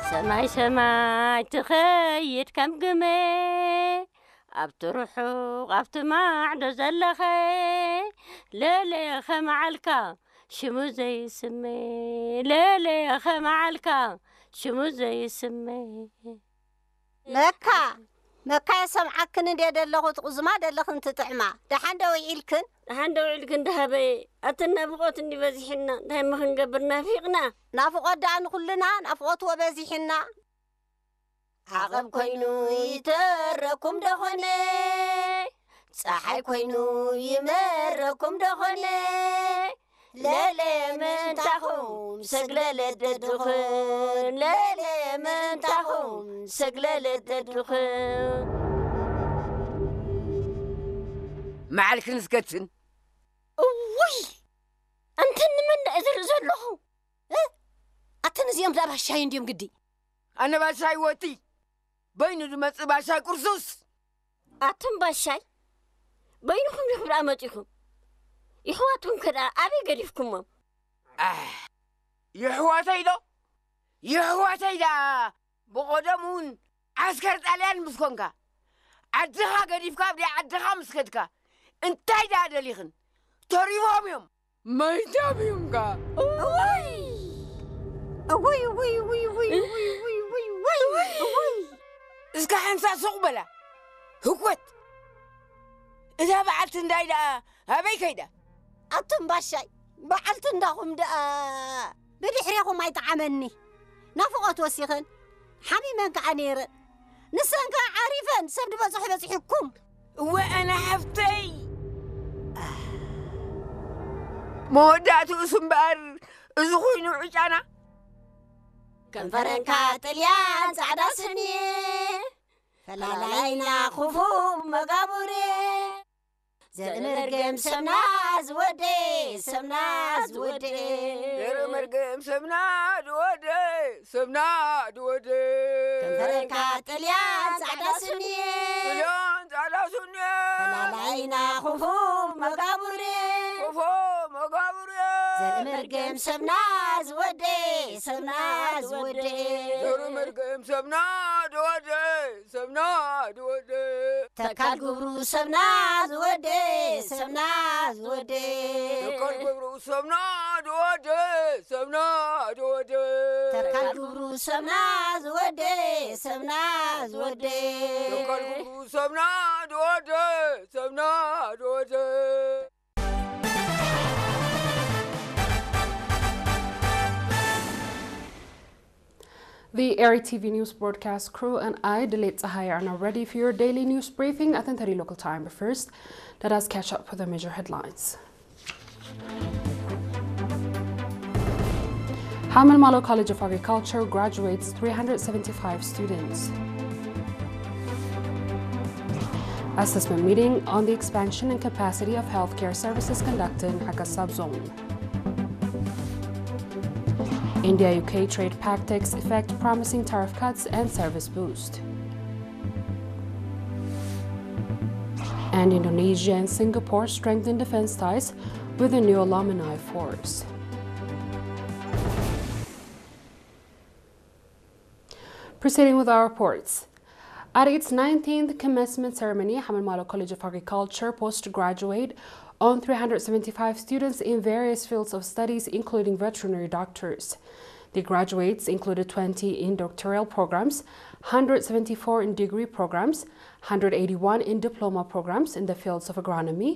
ሰማይ ሰማይ ትኸይድ ከም ግመ፣ ኣብቲ ርሑቕ ኣብቲ ማዕዶ ዘለኸ፣ ለለ ኸመዓልካ ሽሙ ዘይስመ፣ ለለ ኸመዓልካ ሽሙ ዘይስመ። መካ፣ መካ፣ የሰምዓክን እንዴ ደለኹ ትቑዝማ ደለኽን ትጥዕማ። ደሓን ዶ ውዒልክን? ደሓን ዶ ውዒልክን ደሃበየ? ኣተን ናፍቖት እንዲ በዚሕና፣ እንታይ እሞ ክንገብር ናፊቕና? ናፍቖት ደኣ ንኹልና ናፍቖትዎ በዚሕና። ዓቐብ ኮይኑ ይተረኩም ደኾነ? ጸሓይ ኮይኑ ይመረኩም ደኾነ? ለለ ምንታኹም ሰግለለት ደድኽን፣ ለለ ምንታኹም ሰግለለት ደድኽን። መዓልክን እስከትን። እውይ! ኣንተን ንመን እየ ዝርኢ ዘለኹ? እ? ኣተን እዚኦም ደኣ ባሻይ እንድዮም ግዲ። ኣነ ባሻይ ወቲ፣ በይኑ ዝመጽእ ባሻይ ቅርሱስ። ኣቱም ባሻይ፣ በይንኹም ዲኹም ደኣ መጺኹም? ይሕዋትኩም ከ ደኣ ኣበይ ገዲፍኩሞም? ኣሕ፣ የሕዋተይ ዶ? የሕዋተይ ደኣ ብቐደም እውን ዓስከር ጣልያን ምስ ኮንካ፣ ዓድኻ ገዲፍካ ኣብ ደይ ዓድኻ ምስ ከድካ፣ እንታይ ደኣ ደሊኽን? ተሪፎም እዮም። መይቶም እዮም ከ? እውይ! እውይ፣ እውይ፣ እውይ፣ እውይ፣ እውይ፣ እውይ፣ እውይ፣ እውይ፣ እውይ! እስከ ሓንሳእ ሱቕ በላ። ህኮት! እዛ በዓልቲ እንዳይ ደኣ ኣበይ ከይዳ? ኣቱም ባሻይ፣ በዓልቲ እንዳኹም ደኣ ብድሕሬኹም ኣይጠዓመኒ። ናፍቖት ወሲኸን፣ ሓሚመን ከኣ ነይረን። ንሰን ከኣ ዓሪፈን፣ ሰብ ዝበጽሖ በጺሑኩም። እወ ኣነ ሓፍተይ። መወዳእትኡስ እምበኣር እዚ ኮይኑ ዕጫና። ከንፈረንካ ጥልያን ጻዕዳ ስኒ፣ ፈላላይና ክፉ መጋቡሬ። ዘርኢ መርገም ሰብና ዝወደ፣ ሰብና ዝወደ። ዘርኢ መርገም ሰብና ዝወደ፣ ሰብና ዝወደ። ከንፈረንካ ጥልያን ጻዕዳ ስኒ፣ ጥልያን ጻዕዳ ስኒ። ፈላላይና ክፉ መጋቡሬ፣ ክፉ መጋቡሬ። ዘርኢ መርገም ሰብና ዝወደ፣ ሰብና ዝወደ። ዘርኢ መርገም ሰብና ዝወደ፣ ሰብና ዝወደ። ተካል ግብሩ ሰብና ዝወደ፣ ሰብና ዝወደ። ተካል ግብሩ ሰብና ዝወደ፣ ሰብና ዝወደ። ተካል ግብሩ ሰብና ዝወደ፣ ሰብና ዝወደ። ተካል ግብሩ ሰብና ዝወደ፣ ሰብና ዝወደ። The Eri T V news broadcast crew and I, Dilet Tsahai, are now ready for your daily news briefing at ten thirty local time. But first, let us catch up with the major headlines. Hamelmalo College of Agriculture graduates three hundred seventy-five students. Assessment meeting on the expansion and capacity of healthcare services conducted in Hakasab zone. India U K trade pact takes effect, promising tariff cuts and service boost. And Indonesia and Singapore strengthen defense ties with a new alumni force. Proceeding with our reports. At its nineteenth commencement ceremony, Hamelmalo College of Agriculture postgraduate on three hundred seventy-five students in various fields of studies, including veterinary doctors. The graduates included twenty in doctoral programs, hundred seventy-four in degree programs, hundred eighty-one in diploma programs in the fields of agronomy,